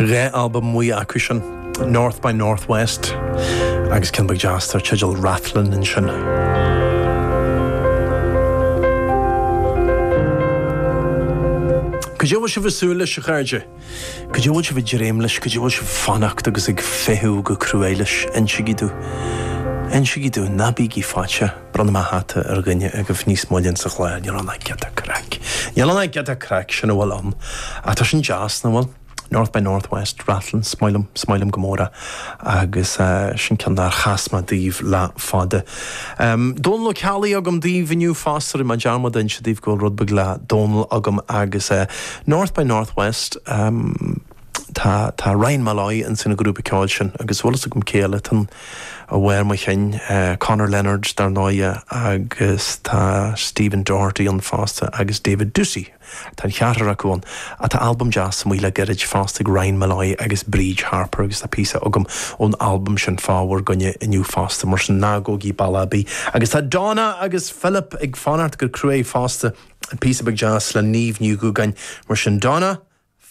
2 albam amuigh acu sin, North by Northwest agus ceann beag deas dar teideal Rathlin ansin. Cad é a bhfuil sibh ag súil leis, a chairde? Cad é a bhfuil sibh ag dréim leis? Cad é a bhfuil sibh ag fanacht agus ag feitheamh go cruaidh leis? Insigí domh. Insigí domh. Ná bígí faitíoch. Bronnfaidh mé hata ar dhuine agaibh níos moille insa chlár. Níl ann ach giota craic. Níl ann ach giota craic, sin a bhfuil ann. Ach tá sin deas, nach bhfuil? North by Northwest, Rathlin, is maith liom, is maith liom go mór é agus sin ceann nár chas mé daoibh le fada. Dónal Ó Ceallaigh agam daoibh inniu fosta, rinne mé dearmad a inse daoibh go bhfuil rud beag le Dónal agam agus North by Northwest, tá, tá Ryan Molloy ins an ghrúpa ceoil sin agus bhfuil fhios agam cé eile atá ann i bharr mo chinn, Conor Leonard dar ndóighe agus tá Stephen Doherty ann fosta agus David Doocey. Tá an cheathrar acu ann. Tá albam deas amuigh le gairid fosta ag Ryan Molloy agus Bríd Harper agus tá píosa agam ón albam sin fá bhur gcoinne inniu fosta, mar sin ná gabhaigí bealach ar bith. Agus tá Donna agus Philip ag fanacht go cruaidh fosta, píosa beag deas le Niamh Ní Dhúgáin, mar sin Donna,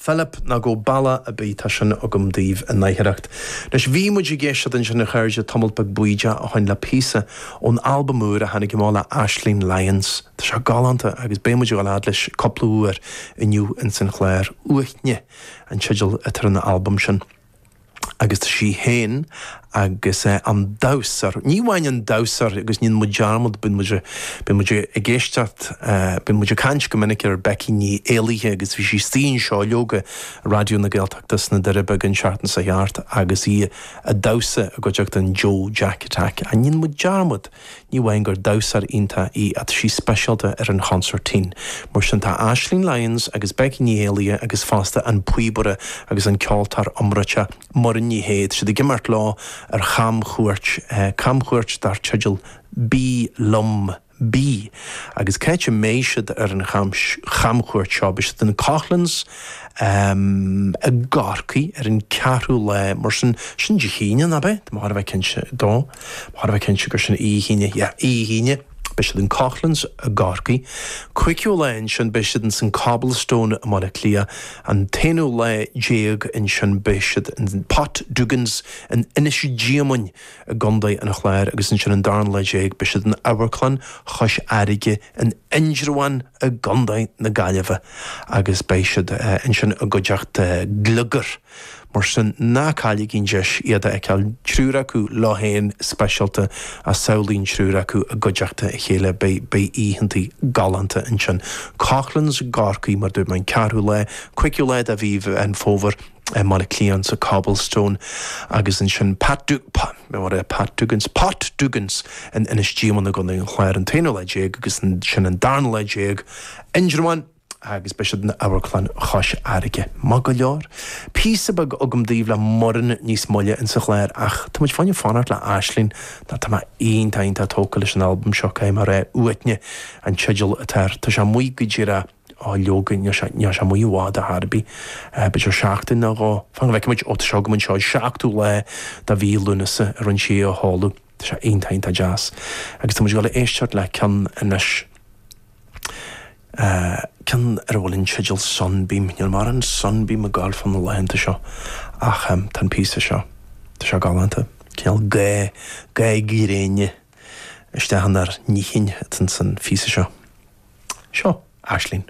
Philip, ná gabh bealach ar bith, tá sin agam daoibh in oidhreacht. Anois, bhí muid ag éisteacht ansin, a chairde, tamalt beag bídeach ó shoin le píosa ón albam úr a tháinig amach le Aisling Lyons. Tá sé galánta agus beidh muid ag dul fhad leis cúpla uair inniu ins an chlár. Uaithne an teideal atá ar an albam sin. agus tá sí féin agus an damhsóir, ní amháin an damhsóir agus ní dhéanann muid dearmad, bíonn muid, bíonn muid ag éisteacht, bíonn muid ag caint go minic ar Becky Ní Éallaithe agus bhí sí istigh anseo leoga i Raidió na Gaeltachta sna Doirí Beaga an tseachtain seo thart agus í ag damhsa i gcuideachta an Joe Jack Attack. Ach ní dhéanann muid dearmad. Ní amháin gur damhsóir iontach í ach tá sí speisialta ar an chonsairtín. Mar sin tá Aisling Lyons agus Becky Ní Éallaithe agus fosta an píobaire agus an ceoltóir iomráiteach Muireann Ní Shé, tá siad ag imeacht leo ar chamchuairt, camchuairt dar teideal Bí Liom, Bí. Agus cá háit a mbeidh siad ar an chamchuairt seo? Beidh siad in Coughlan's i gCorcaigh ar an ceathrú lá, mar sin, sin Dé hAoine, nach ea? Tá mé chóir a bheith cinnte dó. Chóir a bheith cinnte gur sin Oíche hAoine, yeah, Oíche hAoine, beidh siad in Coughlan's i gCorcaigh. Cúigiú lá ansin beidh siad ins an Cobblestone i mBaile Átha Cliath. An t-aonú lá déag ansin beidh siad in Pat Duggan's in Inis Díomaoin i gContae an Chláir agus ansin an darna lá déag beidh siad in Amharclann Chois Fharraige in Indreabhán i gContae na Gaillimhe agus beidh siad ansin i gcuideachta Gliogar. Mar sin, ná cailligí an deis iad a fheiceáil, triúr acu leo féin speisialta, ach samhlaigh an triúr acu i gcuideachta a chéile, beidh, beidh oícheantaí galánta ansin. Coughlan's i gCorcaigh, mar a dúirt mé, an ceathrú lá, cúigiú lá de mhí Mheán Fómhair i mBaile Átha Cliath sa Cobblestone agus ansin Pat Du, Pa, what a, Pat Duggan's, Pot Duggan's in Inis Díomaoin i gContae an Chláir an t-aonú lá déag agus ansin an darna lá déag, Indreabhán. agus beidh siad in Amharclann Chois Fharraige. Maith go leor. Píosa beag agam daoibh le Muireann níos moille insa chlár ach tá muid fá choinne fanacht le Aisling nó tá mé iontach iontach tógtha leis an albam seo caithfidh mé a rá. Uaithne an teideal atá air. Tá sé amuigh go díreach, á leoga níl sé níl sé amuigh i bhfad ar chor ar bith. B'fhéidir seachtain nó dhó. Fan go bhfeicfidh muid, ó tá sé agam anseo, an seachtú lá de mhí Lúnasa a rinne sí é a sheoladh. Tá sé iontach iontach deas. Agus tá muid ag dul a éisteacht le ceann anois. Ceann ar a bhfuil an teideal Sunbeam. Níl mórán Sunbeam ag gabháil fá na laethanta seo ach tá an píosa seo, tá sé galánta. Cineál ga, ga gréine isteach inár n-intinn atá ins an phíosa seo. Seo Aisling.